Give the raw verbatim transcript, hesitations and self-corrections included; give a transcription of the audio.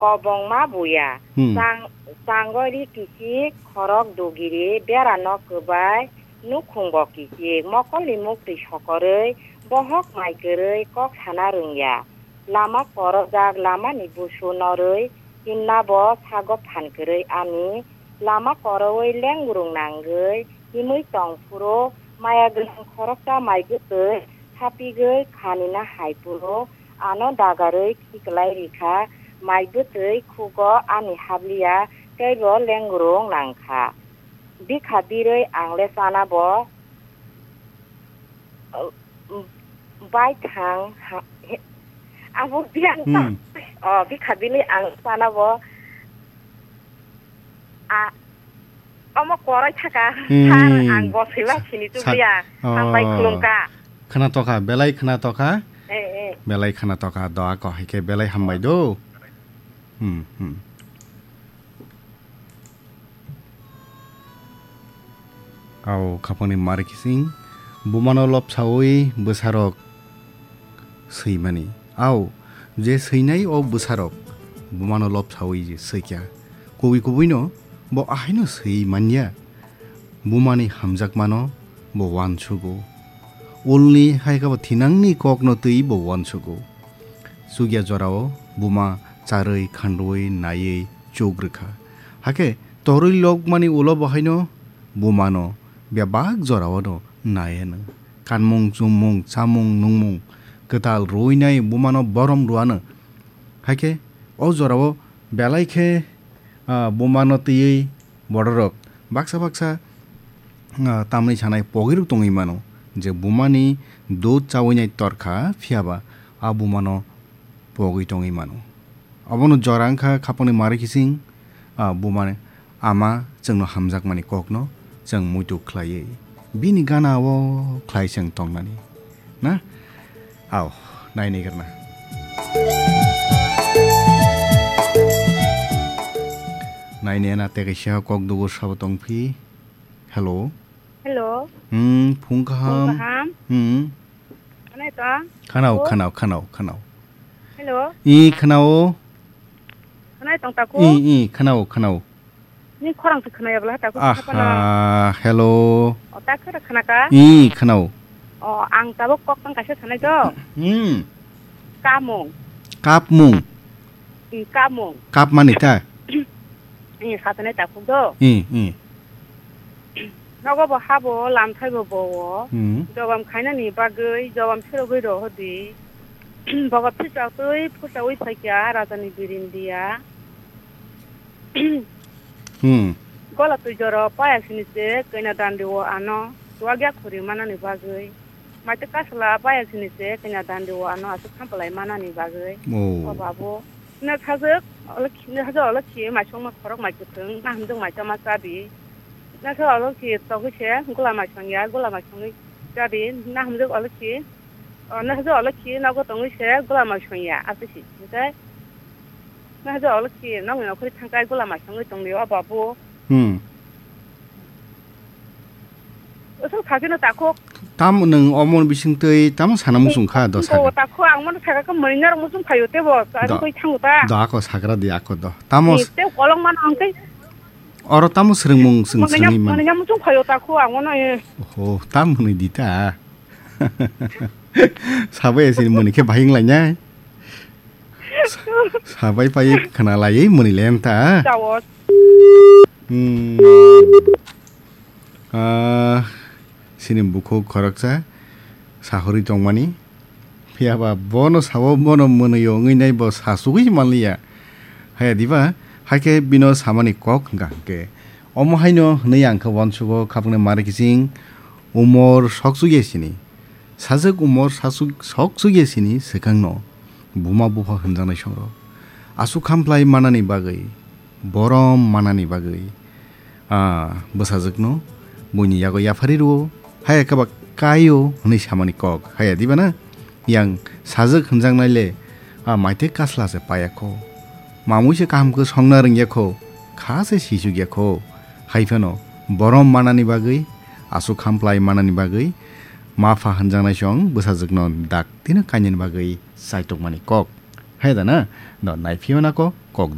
Kobongma buya. Hmm. Chang-, changori kichik, khorok dugiri, berano kwbai, nukhungbo kichik. Mokolni muktwi sokorwi, bohok mai kwrwi, kok sana rwngya. Lama korojak, lamani busu norwi, himnabo sago phan kwrwi ani. Lama korowi lengrung nangwi, himwi tong phuru, maya gwnang khoroksa mai bwtwi, sapigwi khanina hai phuru, ano dagarwi khiklai rikha, mai bwtwi khugo ani habliya, teibo lengrung nangkha. Bikha birwi angle chana bo, uh, bai thang ha-, he-, abo biyang Hmm. ta-, oh, bikha birwi ang chana bo, a, omo korai thaka, Hmm. Sir, ang bo sila sini Sa-, tubliya, oh. Hambai khulumkha. Khna tokha, belai khna tokha. Eh, eh. Belai khna tokha, doa ko hai khe belai hambai do. Hmm, hmm. Au khapangni mari kising bumano lopsaui bwsarok swimani. Au je swinai o bwsarok bumano lopsaui je swikya. Kubui kubuino bo ahaino swi manya. Bumani hamjakmano bo uansugo. Ulni hai khe bo thinangni kokno twi bo uansugo. Chukya jorao buma charwi khandrwi naiwi chuk rwkha. Hakhe torwi lokmani ulo bo haino bumano bebak jorao no naianw. Kanmung, chummung, chamung, nungmung kwtal rwinai bumano borom rwanw. Hakhe o jorao belai khe, ah, bumano twiwi bororok baksa baksa, ah, tamni sanai pogirok tongwi mano je bumani dud chawinai torkha, phiyaba a bumano pogwi tongwi mano. Obono jora wngkha khapangni mari kising, ah, bumani ama chwngno hamjakmani kokno chwng muitu khlaiwi bini gana o khlai chwng tongnani. Na? Au, naini gana. Naini na tekaisa kok dugo sabo tongphi. Hello. Hello. Hmm, phung kaham. Phung kaham. Hmm. Khwnai to? Khanao, Hello. Khanao, khanao, khanao. Hello. I khanao. Khwnai tong taku? I, i, khanao, khanao. Ni khorang se khwnai abla taku. Aha, hello. O ta khara khana ka? I khanao. O ang tabuk kok tang kaisa sanai to. Hmm. Kamung. Kapmung. I kamung. Kap mani ta? I satane taku do. I, i. Nogo bo habo lamthai bo bo. Hmm. Jobam khainani bagwi jobam serogwi rohodi. Bogo phisaktwi phusawi phaikya rajani birindia. Hmm. Gola twijoro paya sini se kanya dandi o ano. Tuagya khuri manani bagwi. Maite kasla paya sini se kanya dandi o ano asuk khampalai manani bagwi. Oh. O babu. Na sajak, ola khi, na sajak ola khi, mai songma khorok mai kwthwng, na hamjak mai chama chabi. Na sajak ola khi, togwi se, gula mai songya, gula mai songwi chabi, na hamjak ola khi, o, na sajak ola khi, nogo tongwi se, gula mai songya, aswk si, hwnkhe, na sajak ola khi, nokni nokhorwi thangkhai, gula mai songwi tongdi, o babu. Hmm. Aswk sakino takhuk. Tamo nwng omo bisingtwi tamo sana muchung kha do saka. Takhuk ang mano saka khe mwnwi norok muchung phaio tebo. Ani koi thango ta. Do ako sakra di ako do. Tamo. Ni tei kolong mano ang tei. Oro tamo swrwngmung swng swrwngwi man. Mwnwi muchung phaio takhuk ang mano. Oho, tamo mwnwi di ta. Sabai sini mwnwi khe bahing lainai. Sa-, sabai pai khna laiwi mwnwi le wng ta. Chao. Hmm. Ah, sini bukhuk khoroksa sahorwi tongmani. Phiyaba bono sao bono mwnwi ongwi nai bo sasugwi manliya. Haya diba? Haikhe bino samani kok hwnkha hwnkhe. Omo haino hwnwi ang khe uansugo khapangni mari kiching umor soksugya sini. Sajwk umor sasuk-, soksugya sini swkangno buma bupha hwnjaknai songrok. Aswk khamplai manani bagwi, borom manani bagwi, ah, bwsajwkno buini yago yapharwi rwo, haya khe ba kaio hwnwi samani kok. Haya diba na? Yang sajwk hwnjaknai le, ah, maitwi kasla se paya kho. Mamui se kaham khe songna rwngya kho, kha se sisukya kho. Hai phano borom manani bagwi, aswk khamplai manani bagwi, ma pha hwnjaknai song bwsajwkno daktino kainani bagwi chaitokmani kok. Hai da na? No, naiphio na kok?